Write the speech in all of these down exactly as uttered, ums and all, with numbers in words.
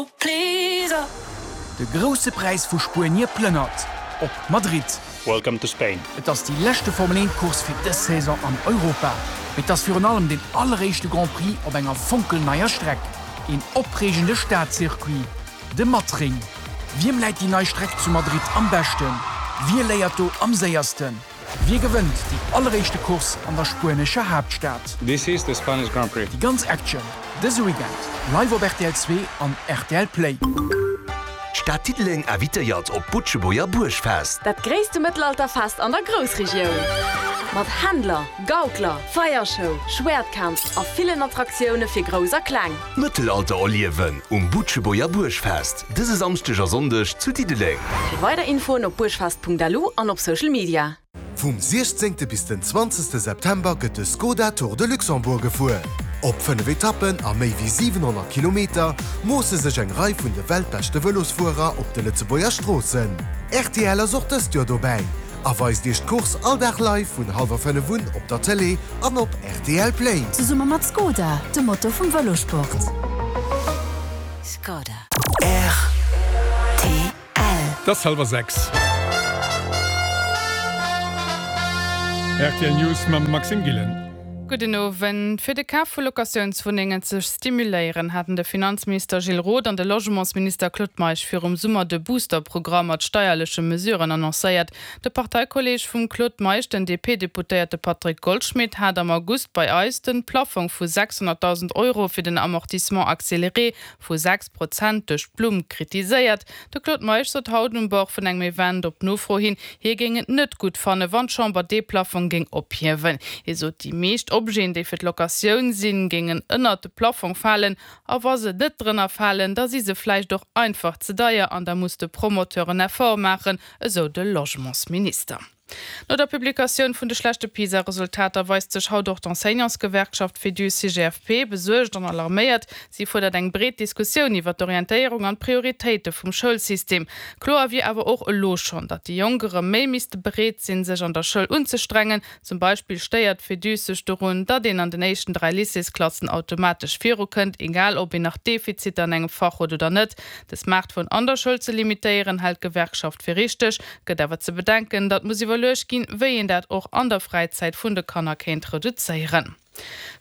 De Grousse Präis vu Spuenie plënnert op Madrid. Welcome to Spain. Et ass déi leschte Formel eent Course fir dës Saison an Europa. Mee et ass virun allem deen alleréischte Grand Prix op enger fonkelneier Streck. Een opreegende Stadcircuit, de Madring. Wiem läit déi nei Streck zu Madrid am beschten? Wie léiert do am séiersten? Wie gewënnt déi alleréischte Course an der spuenescher Haaptstad? This is the Spanish Grand Prix. Déi ganz Action dëse Weekend live op rtl zwee an rtl Play. D'Stad Diddeleng invitéiert op d'Butschebuerger Buergfest. Dat gréisste Mëttelalterfest an der Groussregioun. Mat Händler, Gaukler, Feiershow, Schwäertkampf a villen Attraktioune fir Grouss a Kleng. Mëttelalter erliewen um Butschebuerger Buergfest dëse Samschdeg a Sonndeg zu Diddeleng. Fir weider Infoen op buergfest.lu an op Social Media. Vum siechzéngte bis den zwanzegste September gëtt de Skoda Tour de Luxembourg gefuer. Op fënnef Etappen a méi wéi siwenhonnert Kilometer moosse sech eng Rei vun de weltbeschte Vëlosfuerer op de Lëtzebuerger Stroossen. Rtl ass och dëst Joer dobäi a weist Iech d'Course all Dag live vun hallwer fënnef un op der Tëlee an op rtl Play. Zesumme mat Skoda, dem Motor vum Vëlosport. Skoda. Rtl. Et ass hallwer sechs. Rtl News mam Maxime Gillen. Gudden Owend. Fir de Kaf vu Locatiounswunnengen ze stimuléieren, haten de Finanzminister Gilles Roth an de Logementsminister Claude Meisch virum Summer de Booster-Programm mat steierleche Mesuren annoncéiert. De Parteikolleeg vum Claude Meisch, den D P-Deputéierte Patrick Goldschmidt, hat am August bei eis de Plaffong vu sechshonnertdausend Euro fir den Amortissement accéléré vu sechs Prozent duerch d'Blumm kritiséiert. De Claude Meisch sot haut um Bord vun engem Event op Nofro hin, hie géing et net gutt fannen, wann d'Chamber dee Plaffong géing ophiewen. Hie sot, déi meescht Objeten, déi fir d'Locatioun sinn, géingen ënnert de Plaffong falen, a wa se net drënner falen, da si se vläicht och einfach ze deier an da muss de Promoteur en Effort maachen, esou de Logementsminister. No der Publikatioun vun de schlechte PISA-Resultater weist sech haut och d'Enseignantsgewerkschaft Féduse-C G F P besuergt an alarméiert. Si fuerdert eng breet Diskussioun iwwer d'Orientéierung an d'Prioritéite vum Schoulsystem. Kloer wier awer och elo schonn, datt déi Jonk erëm méi misste bereet sinn, sech an der Schoul unzestrengen. Zum Beispill stéiert d'Féduse sech dorun, datt een an den éischten dräi Lycéesklassen automatesch virukënnt, egal ob een nach Defiziter an engem Fach huet oder net. De Smartphone an der Schoul ze limitéieren, hält d'Gewerkschaft fir richteg, gëtt awer ze bedenken, datt muss iwwerluecht ginn, wéi een dat och an der Fräizäit vun de Kanner kéint reduzéieren.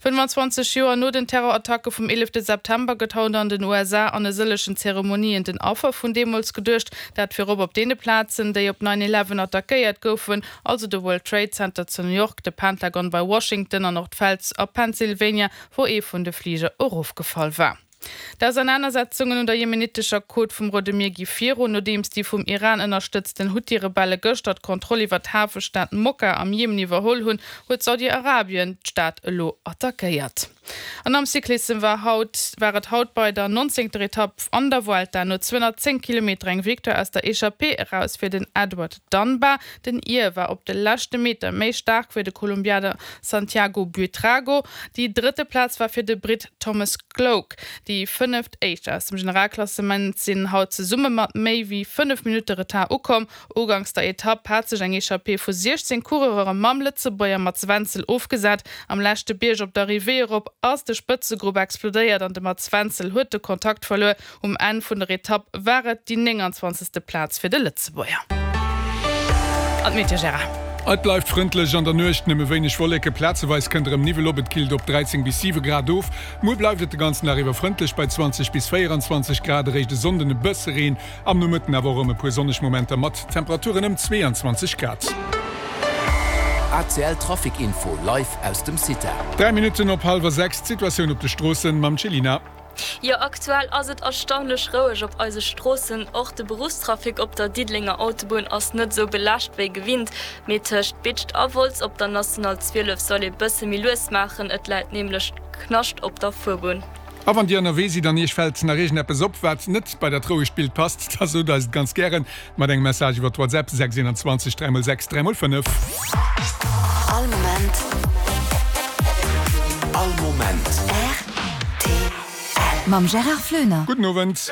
fënnfanzwanzeg Joer no den Terrorattacke vum eelefte September gëtt haut an den U S A an e sëllegen Zeremonien den Affer vun deemools geduecht, dat virop op deene Plazen, déi op nine eleven attackéiert goufen, also de World Trade Center zu New York, de Pentagon bei Washington an och d'Feld a Pennsylvania, wou ee vun de Fliger erofgefall war. D'Ausernanersetzungen un der jemenitescher Côte vum Roude Mier gi virun, nodeems déi vum Iran ënnerstëtzten Huthi-Rebelle gëschter d'Kontroll iwwer d'Hafestad Mokka am Jemen iwwerholl hunn, huet Saudi-Arabien d'Stad elo attackéiert. An am Cyclissem war haut war et haut bei der nonzéngter Etapp an der Vuelta no zweehonnertzéng Kilometer eng Victoire aus der Echappée eraus fir den Edward Dunbar. Den Ir war op de leschte Meter méi staark wéi de Kolumbianer Santiago Buitrago. Déi drëtte Plaz war fir de Britt Thomas Gloag. Déi fënneft Éischt aus dem Generalklassement sinn haut zesumme mat méi wéi fënnef Minutte Retard ukomm. Uganks der Etapp hat sech eng Echappée vu siechzéng Coureure mam Lëtzebuerger Mats Wenzel ofgesat. Am leschte Bierg op der Arrivée erop ass de Spëtzegrupp explodéiert an de Mats Wenzel huet de Kontakt verluer. Um Enn vun der Etapp war et déi nénganzwanzegste Plaz fir de Lëtzebuerger. An d'Meteo, Gérard. Et bleift frëndlech, an der Nuecht nëmme wéineg Wolleken, plazeweis kënnt erëm Niwwel op, et killt op dräizéng bis siwe Grad of. Muer bleift et de ganzen Dag iwwer frëndlech bei zwanzeg bis véieranzwanzeg Grad, eréischt e Sonnden e bësse Reen, am Nomëtten awer och erëm e puer sonneg Momenter mat Temperaturen ëm zweeanzwanzeg Grad. A C L Trafic Info live aus dem Cita. Dräi Minutten op hallwer sechs, d'Situatioun op de Stroossen mam Cellina. Jo, aktuell ass et erstaunlech roueg op eise Stroossen. Och de Beruffstrafic op der Diddelenger Autobunn ass net esou belaascht wéi gewinnt. Mee tëscht Bidscht a Wolz op der National zwielef soll ee bësse méi lues maachen, et läit nämlech Knascht op der Fuerbunn. A wann Dir ënnerwee sidd an Iech fält nach iergendeppes op, wat net bei dat rouegt Bild passt, da sot eis et ganz gären mat engem Message iwwer WhatsApp, sechs einundzwanzeg dräi mol sechs dräi mol fënnef. All Moment. All Moment. R T L. Mam Gérard Floener. Gudden Owend.